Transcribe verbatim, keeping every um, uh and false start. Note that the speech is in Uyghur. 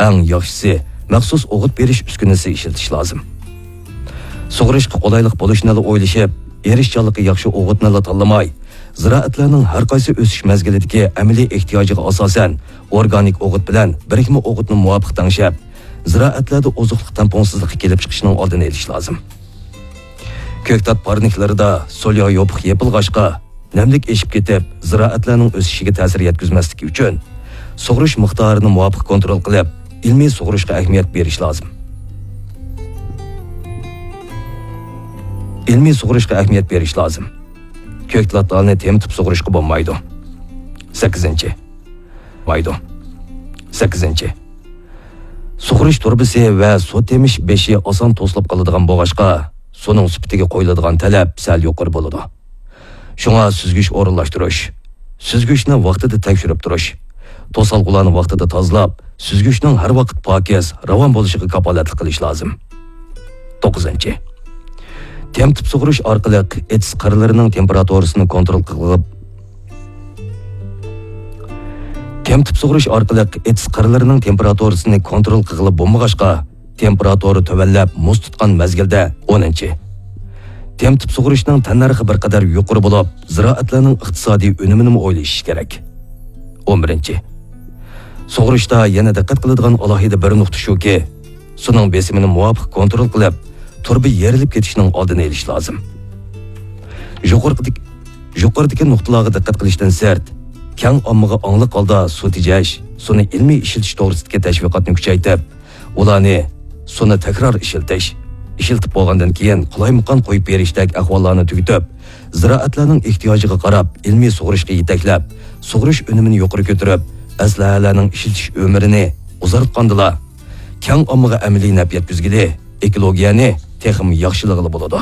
ئەڭ ياخشىسى، مەخسۇس ئوغۇت بېرىش ئۈسكۈنىسى ئىشلىتىش لازىم. سۇغىرىشقا قولايلىق بولۇشنىلا ئويلىشىپ، ئېرىشچانلىقى ياخشى ئوغۇتنىلا تاللىماي، زىرائەتلەرنىڭ ھەر قايسى ئۆسۈش مەزگىلىدىكى ئەمەلىي ئېھتىياجىغا ئاساسەن، ئورگانىك ئوغۇت بىلەن بىرىكمە ئوغۇتنى مۇۋاپىق تەڭشەپ، زىرائەتلەردە ئوزۇقلۇق تەڭپۇڭسىزلىقى كېلىپ چىقىشىنىڭ ئالدىنى ئېلىش لازىم. كۆكتات پارنىكلىرىدا سوليا يوپۇق يېپىلغاچقا، نەملىك ئېشىپ كېتىپ، زىرائەتلەرنىڭ ئۆسۈشىگە تەسىر يەتكۈزمەسلىكى ئۈچۈن، سۇغىرىش مىقدارىنى مۇۋاپىق كونترول قىلىپ، ئىلمىي سۇغىرىشقا ئەھمىيەت بېرىش لازىم. ئىلمىي سۇغىرىشقا ئەھمىيەت بېرىش لازىم. كۆكتاتلارنى تېمىتىپ سۇغىرىشقا بولمايدۇ. سەككىزىنچى. مايدۇ. سەككىزىنچى. سۇغىرىش تۇرۇبىسى ۋە سۇ تېمىش بېشى ئاسان توسۇلۇپ قالىدىغان بولغاچقا، سۇنىڭ سۈپىتىگە قويۇلىدىغان تەلەپ سەل يۇقىرى بولىدۇ. شۇڭا سۈزگۈچ ئورۇنلاشتۇرۇش، سۈزگۈچنى ۋاقتىدا تەكشۈرۈپ تۇرۇش، توسالغۇلارنى ۋاقتىدا تازىلاپ، سۈزگۈچنىڭ ھەر ۋاقىت پاكىز، راۋان بولۇشىغا كاپالەتلىك قىلىش لازىم. توققۇزىنچى. تېمىتىپ سۇغىرىش ئارقىلىق ئېتىز قىرلىرىنىڭ تېمپېراتۇرىسىنى كونترول قىلغىلى تېمىتىپ سۇغىرىش ئارقىلىق ئېتىز قىرلىرىنىڭ تېمپېراتۇرىسىنى كونترول قىلغىلى بولمىغاچقا، تېمپېراتۇرا تۆۋەنلەپ مۇز تۇتقان مەزگىلدە، ئونىنچى. تېمىتىپ سۇغىرىشنىڭ تەننەرخى بىر قەدەر يۇقىرى بولۇپ، زىرائەتلەرنىڭ ئىقتىسادىي ئۈنۈمىنىمۇ ئويلىشىش كېرەك. ئون بىرىنچى. سۇغىرىشتا يەنە دىققەت قىلىدىغان ئالاھىدە بىر نۇقتا شۇكى، سۇنىڭ بېسىمىنى مۇۋاپىق كونترول قىلىپ، تۇرۇبا يېرىلىپ كېتىشنىڭ ئالدىنى ئېلىش لازىم. يۇقىرىقىدىكى، يۇقىرىدىكى نۇقتىلارغا دىققەت قىلىشتىن سىرت، كەڭ ئاممىغا ئاڭلىق ھالدا سۇ تېجەش، سۇنى ئىلمىي ئىشلىتىش توغرىسىدىكى تەشۋىقاتنى كۈچەيتىپ، ئۇلارنى سۇنى تەكرار ئىشلىتىش، ئىشلىتىپ بولغاندىن كېيىن قالايمىقان قويۇپ بېرىشتەك ئەھۋاللارنى تۈگىتىپ، زىرائەتلەرنىڭ ئېھتىياجىغا قاراپ ئىلمىي سۇغىرىشقا يېتەكلەپ، سۇغىرىش ئۈنۈمىنى يۇقىرى كۆتۈرۈپ، ئەسلىھەلەرنىڭ ئىشلىتىش ئۆمرىنى ئۇزارتقاندىلا، كەڭ ئاممىغا ئەمەلىي نەپ يەتكۈزگىلى، ئېكولوگىيەنى تېخىمۇ ياخشىلىغىلى بولىدۇ.